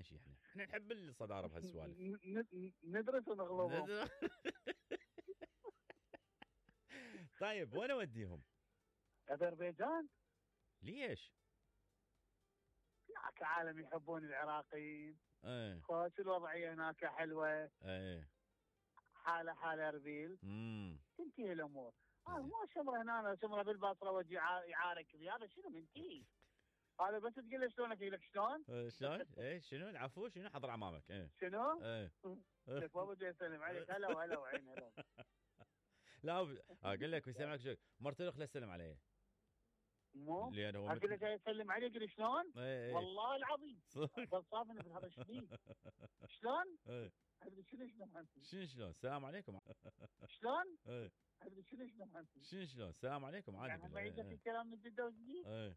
شيء احنا نحب الصداره بهالسوالف. ندرس ونغلبهم. طيب وين اوديهم؟ اذربيجان. ليش؟ هناك عالم يحبون العراقيين. خوش الوضعيه هناك حلوه. حاله اربيل. تنتهي الامور. مو شمره هنا شمره بالبصره وجي يعارك بي، هذا شنو منتهي؟ هذا بس تقول له شلونك يقول لك شلون؟ شلون؟ شنو العفو شنو حضر امامك؟ شنو؟ لك بابا جاي يسلم عليك. هلا وعين هلا. لا اقول لك بيسلم عليك مرته خليه يسلم علي. مو اقول له جاي يسلم عليك يقول شلون؟ والله العظيم صافني بهذا الشديد. شلون؟ شنو السلام عليكم. شلون؟ شنو السلام عليكم عادي. يعني ما يجي في كلام من جده وجديد.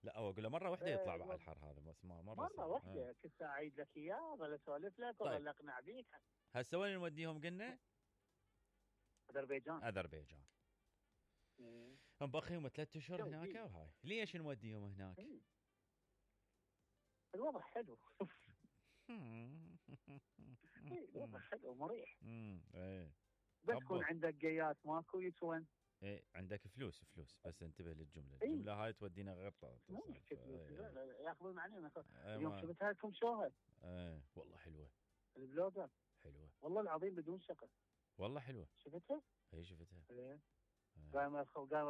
لا هو اقول له مره واحده يطلع على الحر هذا، بس مره واحده كنت اعيد لك اياه ولا اسولف لك ولا اقنع بيك. هسه وين نوديهم قلنا؟ اذربيجان. مبقيهم 3 اشهر هناك وهاي. ليش نوديهم هناك؟ الوضع حلو. الوضع حلو مريح. بس يكون عندك جيات ماكو يسون. عندك فلوس بس انتبه للجمله. الجمله هاي تودينا غير ياخذون علينا. اليوم شفتها لكم شوها. والله حلوه البلوجر. حلوه والله العظيم بدون شقه. والله حلوه. شفتها؟ شفتها. قام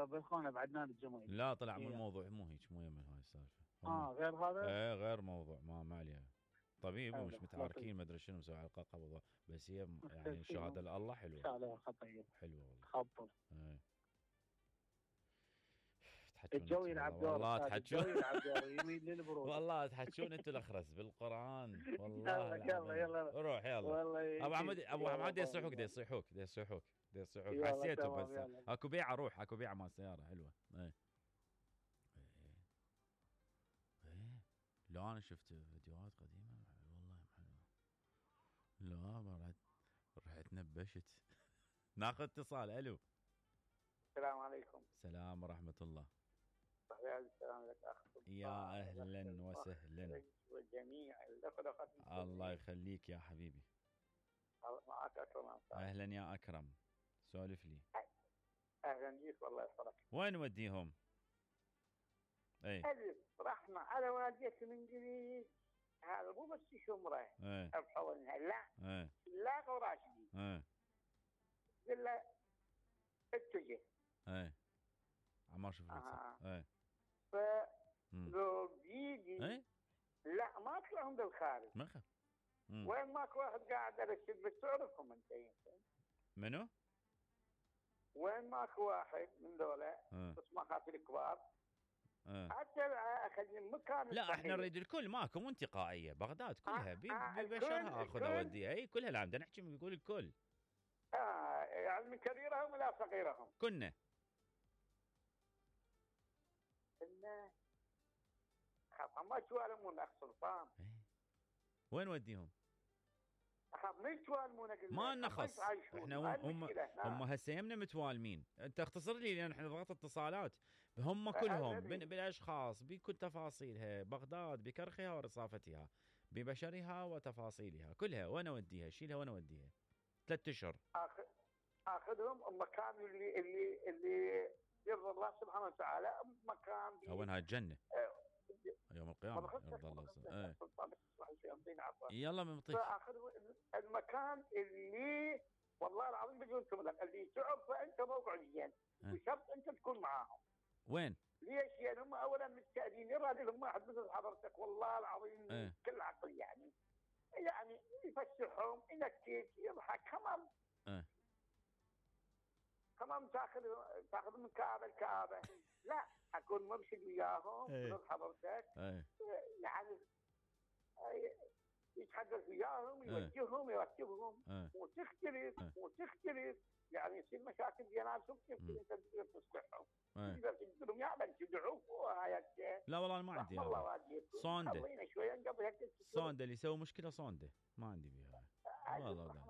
بالخونه بعدنا الجمعيه. لا طلع من الموضوع مو هيك، مو يمن هاي السالفه. غير هذا؟ غير موضوع ما عليها. طبيب ومش متعاركين ما ادري شنو مسوي على قبضه، بس هي يعني الشهاده لله حلوه. ان شاء الله خطيه حلوه والله. خبر. الجو يلعب دور. والله تحجون. يلعب دور يميل للبرود. والله تحجون انتم الاخرس بالقران والله. يلا روح يلا. ابو حماد يصيحوك حسيته بس اكو بيعه. روح اكو بيعه مال سياره حلوه. لا انا شفت فيديوهات قديمه والله حلوه. لا رحت نبشت. ناخذ اتصال. الو السلام عليكم. السلام ورحمه الله. السلام لك اخ. يا اهلا وسهلا وجميع الله يخليك يا حبيبي. معك اكرم. اهلا يا اكرم، سولف لي. اهلا بيك والله يسعدك. وين نوديهم؟ رحنا على وادية من قريب. هذا مو بس شمره بحولنا لا قراشدي. قل له اتجه. عمار شوف لو بيجي لا ما طلعهم بالخارج. ما خف. وين ماكو واحد قاعد ارشد بس تعرفهم انت يمكن. منو؟ وين ماكو واحد من ذولا بس ما خاطر الكبار. حتى اخذ مكان. لا احنا نريد الكل ماكو مو انتقائيه. بغداد كلها ببشرها اخذ اوديها. كلها. لا بدنا نحكي بيقول الكل. يعني من كبيرهم ولا صغيرهم كنا خاف ما توالمون اخ سلطان. وين وديهم؟ خاف ما يتوالمون. ما نخص احنا هم هسه يمنا متوالمين. انت اختصر لي لان احنا ضغط اتصالات. هم كلهم بالاشخاص بكل تفاصيلها. بغداد بكرخها ورصافتها ببشرها وتفاصيلها كلها. وين اوديها؟ شيلها وين اوديها؟ 3 اشهر اخذهم المكان اللي يرضى الله سبحانه وتعالى. مكان وين هاي الجنه يوم القيامه يرضى الله. يلا بنطيك. فاخذ المكان اللي والله العظيم بقولكم لك اللي تعرفه انت موقعيا بشرط انت تكون معاهم. وين؟ ليش؟ يعني هم اولا متساعدين يراد لهم واحد مثل حضرتك والله العظيم كل عقل يعني يفسحهم ينكت يضحك كمان تاخذ من كعبه لكعبه. لا اكون مرشد وياهم مثل حضرتك. يعني يتحدث وياهم يوجههم يرتبهم. وتختلف يعني يصير مشاكل بيناتهم. كيف انت تقدر تصلحهم؟ تقدر تقدرهم يعني تدعوه وهاي. لا والله انا ما عندي صونده. صونده اللي يسوي مشكله صونده ما عندي بيها والله.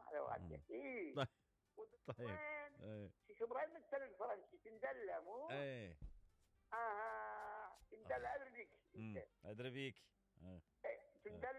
طيب شو ابراهيم مثل الفرنسي تندلع مو؟ تندلع ادري بيك. ادري بيك. تندلع